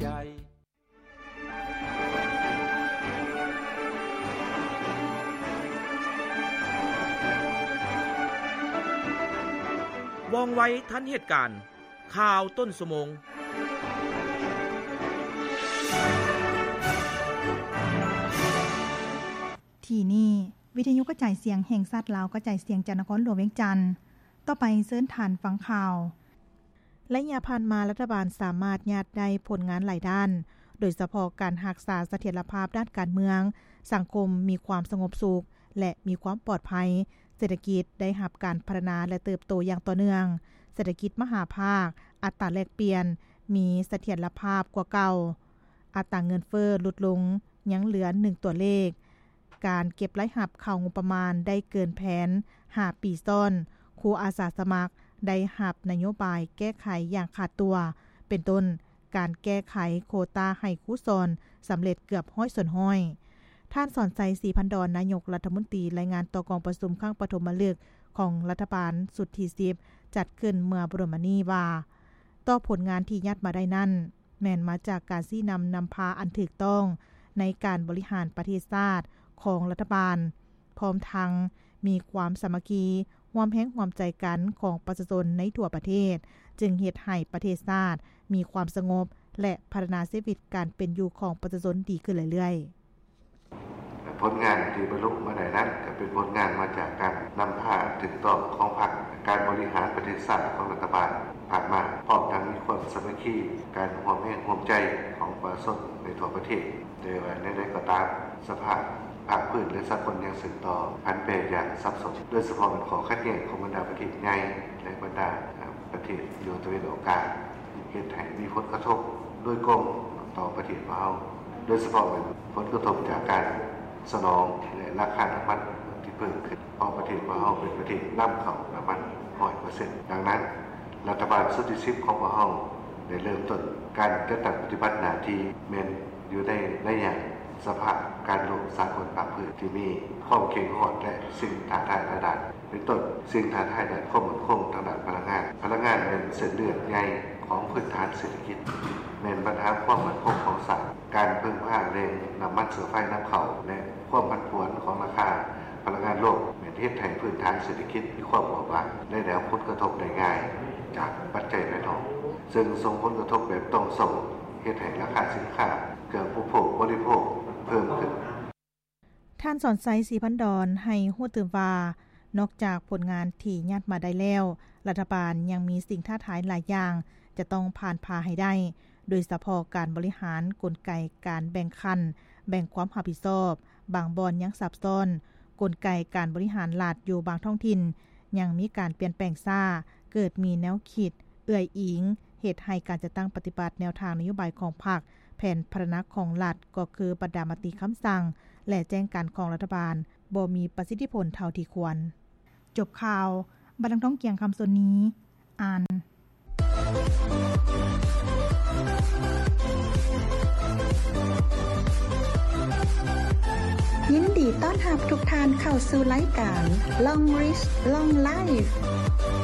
ໃຈ. ວ່ອງໄວທັນເຫດການ, ຂ່າວຕົ້ນຊົ່ວໂມງ. ທີ່ນີ້ ວິທະຍຸກະຈາຍສຽງແຫ່ງຊາດລາວ ກະຈາຍສຽງຈາກນະຄອນຫຼວງວຽງຈັນ. ຕໍ່ໄປເຊີນທ່ານຟັງຂ່າວ. ໄລຍະຜ່ານມາ ລັດຖະບານສາມາດຍາດໄດ້ຜົນງານຫຼາຍດ້ານ, ໂດຍສະເພາະການຮັກສາສະຖຽນລະພາບດ້ານການເມືອງ, ສັງຄົມມີຄວາມສະຫງົບສຸກ ແລະ ມີຄວາມປອດໄພ, ເສດຖະກິດໄດ້ຮັບການພັດທະນາ ແລະ ເຕີບໂຕຢ່າງຕໍ່ເນື່ອງ, ເສດຖະກິດມະຫາພາກ, ອັດຕາແລກປ່ຽນມີສະຖຽນລະພາບກວ່າເກົ່າ, ອັດຕາເງິນເຟີ້ຫຼຸດລົງ ຍັງເຫຼືອໜຶ່ງຕົວເລກ. ການເກັບລາຍຮັບເຂົ້າງົບປະມານໄດ້ເກີນແຜນຫ້າປີຊ້ອນ, ຄູອາສາສະໝັກໄດ້ຮັບນະໂຍບາຍແກ້ໄຂຢ່າງຂາດຕົວ, ເປັນຕົ້ນ ການແກ້ໄຂໂຄຕາໃຫ້ຄູສອນສຳເລັດເກືອບຮ້ອຍສ່ວນຮ້ອຍ. ທ່ານ ສອນໄຊ ສີພັນດອນ ນາຍົກລັດຖະມົນຕີ ລາຍງານຕໍ່ກອງປະຊຸມຄັ້ງປະຖົມມະລຶກຂອງລັດຖະບານຊຸດທີສິບ ຈັດຂຶ້ນເມື່ອບໍ່ດົນມານີ້ວ່າ ຕໍ່ຜົນງານທີ່ຍາດມາໄດ້ນັ້ນ ແມ່ນມາຈາກການຊີ້ນຳນຳພາອັນຖືກຕ້ອງໃນການບໍລິຫານປະເທດຊາດຂອງລັດຖະບານ, ພ້ອມທັງມີຄວາມສາມັກຄີ, ຮ່ວມແຮງຮ່ວມໃຈກັນຂອງປະຊາຊົນໃນທົ່ວປະເທດ, ຈຶ່ງເຮັດໃຫ້ປະເທດຊາດມີຄວາມສະຫງົບ ແລະ ພັດທະນາຊີວິດການເປັນຢູ່ຂອງປະຊາຊົນດີຂຶ້ນເລື້ອຍໆ. ຜົນງານທີ່ບັນລຸມາໄດ້ນັ້ນ ກໍເປັນຜົນງານມາຈາກການນຳພາອັນຖືກຕ້ອງຂອງພັກ, ການບໍລິຫານປະເທດຊາດຂອງລັດຖະບານຜ່ານມາ, ພ້ອມທັງມີຄວາມສາມັກຄີ, ການຮ່ວມແຮງຮ່ວມໃຈຂອງປະຊາຊົນໃນທົ່ວປະເທດ. ແຕ່ວ່າແນວໃດກໍຕາມ, ສະພາບພາກພື້ນ ແລະ ສາກົນຍັງສືບຕໍ່ຜັນແປຢ່າງສັບສົນ, ໂດຍສະເພາະແມ່ນຂໍ້ຂັດແຍ່ງຂອງບັນດາປະເທດໃຫຍ່ ແລະ ບັນດາປະເທດຢູ່ຕາເວັນອອກກາງ ເຮັດໃຫ້ມີຜົນກະທົບໂດຍກົງຕໍ່ປະເທດຂອງເຮົາ, ໂດຍສະເພາະແມ່ນຜົນກະທົບຈາກການສະໜອງ ແລະ ລາຄານ້ຳມັນທີ່ເພີ່ມຂຶ້ນ, ເພາະປະເທດຂອງເຮົາເປັນປະເທດນຳເຂົ້ານ້ຳມັນຮ້ອຍເປີເຊັນ. ດັ່ງນັ້ນ, ລັດຖະບານຊຸດທີສິບຂອງພວກເຮົາໄດ້ເລີ່ມຕົ້ນການຈັດຕັ້ງປະຕິບັດໜ້າທີ່ ແມ່ນຢູ່ໃນໄລຍະສະພາບການລົບສາກົນພາກພື້ນທີ່ມີຄວາມເຄັ່ງຮອດ ແລະ ສິ່ງທ້າທາຍຫຼາຍດ້ານ. ເປັນຕົ້ນ, ສິ່ງທ້າທາຍດ້ານຄວາມໝັ້ນຄົງທາງດ້ານພະລັງງານ. ພະລັງງານແມ່ນເສັ້ນເລືອດໃຫຍ່ຂອງພື້ນຖານເສດຖະກິດ, ແມ່ນບັນຫາຄວາມໝັ້ນຄົງຂອງຊາດ. ການເພິ່ງພາແຫຼ່ງນ້ຳມັນເຊື້ອໄຟນຳເຂົ້າ ແລະ ຄວາມຜັນຜວນຂອງລາຄາພະລັງງານໂລກ ແມ່ນເຮັດໃຫ້ພື້ນຖານເສດຖະກິດມີຄວາມບົບບາງ ແລະ ໄດ້ຮັບຜົນກະທົບໄດ້ງ່າຍຈາກປັດໄຈພາຍນອກ, ເຊິ່ງສົ່ງຜົນກະທົບແບບຕ່ອງໂສ້, ເຮັດໃຫ້ລາຄາສິນຄ້າເຄື່ອງອຸປະໂພກບໍລິໂພກເພີ່ມຂຶ້ນ. ທ່ານ ສອນໄຊ ສີພັນດອນ ໃຫ້ຮູ້ຕື່ມວ່າ, ນອກຈາກຜົນງານທີ່ຍາດມາໄດ້ແລ້ວ, ລັດຖະບານຍັງມີສິ່ງທ້າທາຍຫຼາຍຢ່າງຈະຕ້ອງຜ່ານຜ່າໃຫ້ໄດ້, ໂດຍສະເພາະການບໍລິຫານ, ກົນໄກການແບ່ງຂັ້ນ, ແບ່ງຄວາມຮັບຜິດຊອບ, ບາງບ່ອນຍັງຊັບຊ້ອນ, ກົນໄກການບໍລິຫານລັດຢູ່ບາງທ້ອງຖິ່ນຍັງມີການປ່ຽນແປງຊ້າ, ເກີດມີແນວຄິດເອື້ອຍອີງ, ເຮັດໃຫ້ການຈັດຕັ້ງປະຕິບັດແນວທາງນະໂຍບາຍຂອງພັກ, ແຜນພັດທະນາຂອງລັດ ກໍຄືບັນດາມະຕິຄຳສັ່ງ ແລະ ແຈ້ງການຂອງລັດຖະບານ ບໍ່ມີປະສິດທິຜົນເທົ່າທີ່ຄວນ. ຈົບຂ່າວ, ບັນລັງທອງ ກຽງຄຳ ສ່ວນນີ້ ອ່ານ. ຍິນດີຕ້ອນຮັບທຸກທ່ານເຂົ້າສູ່ລາຍການ Long Reach Long Life.